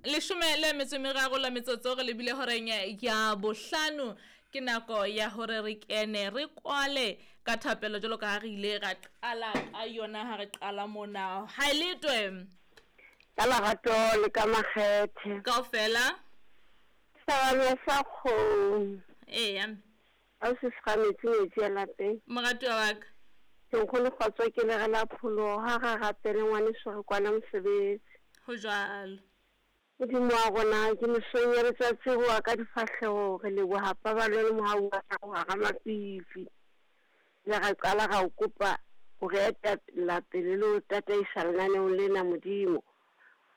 Leshome le metso e meraro la metsotso re lebile horeng ya bohlano. Ke nako ya hore re kene re kwale ka thapelo jwalo ka ha re ile ra qala ka yona ha re qala mona. Ha e letwe. Ka lerato le ka makgethe. Kaofela. Sabane sa kgomo. Eya. Ha o se sega metsi metsi a lapeng. Moratuwa wa ka. Ke nkgono kgotso ke lere la pholoho ha re rapele ngwaneso re kwana mosebetsi. Ho jwalo. Modimo wa rona ke mesong ya letsatsi re wa ka difahleho re leboha paballo le mohau wa hao hara mafifi. Re ra qala ra o kopa ho re etella pele le ho tataisa lenaneong lena Modimo.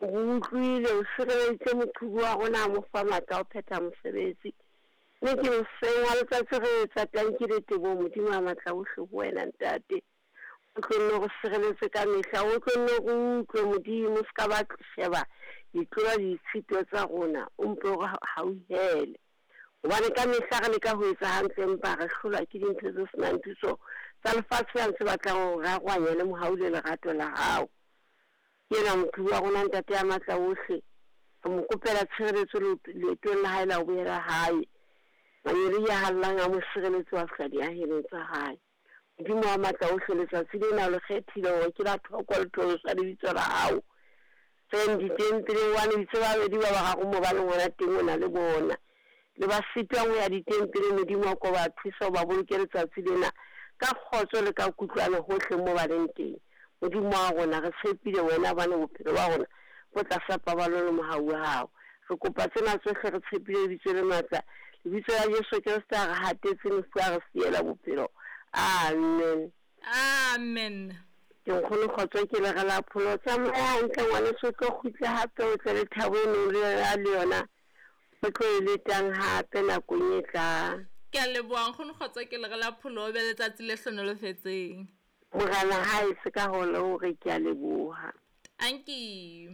O re utlwile o sireleditse moqhubu wa rona a mo fa matla a ho phetha mosebetsi. Mme ke hoseng wa letsatsi re etsa tanki le teboho Modimo a matla ohle ho wena Ntate. O tlo nne o re sireletse ka mehla, o tlo nne o re utlwe Modimo, o se ka ba sheba ditlola le ditshito tsa rona, o mpe o re hauhele. Hobane ka mehla re leka ho etsa hantle empa re hlolwa ke dintho tse senang thuso tsa lefatshe la ntse batlang ho re arohanya le mohau le lerato la hao. Ke enwa moqhubi wa rona Ntate ya matla ohle. Re mo kopela tshireletso leetong la hae la ho boela hae. Mangeloi a hallang a mo sireletse ho fihla diahelong tsa hae. Modimo wa matla ohle, letsatsi lena o le kgethile hore ke la thoko le thoriso ya lebitso la hao. Reng ditempeleng hobane itse ba babedi ba bararo mo ba leng hona teng o na le bona. Le ba sitwang ho ya ditempeleng Modimo a ko ba thusa o ba boloke letsatsi lena ka kgotso le ka kutlwano hohle mo ba leng teng. Modimo wa rona, re tshepile wena hobane bophelo ba rona bo tlasa paballo le mohau wa hao. Re kopa tsena tsohle re tshepile lebitso le matla, lebitso la Jesu Kreste a re hatetse lefu a re siela bophelo. Amen. Amen. Ke nkgono kgotso ke lere la pholo. Tsamaya hantle ngwaneso o tlo kgutle hape o tle le thabo e neng le na le yona o tlo e letang hape nakong e tlang. Ke a leboha nkgono kgotso ke lere la pholo o be letsatsi le hlonolofetseng. Morena ha etse ka hole hore ke a leboha. Tanki.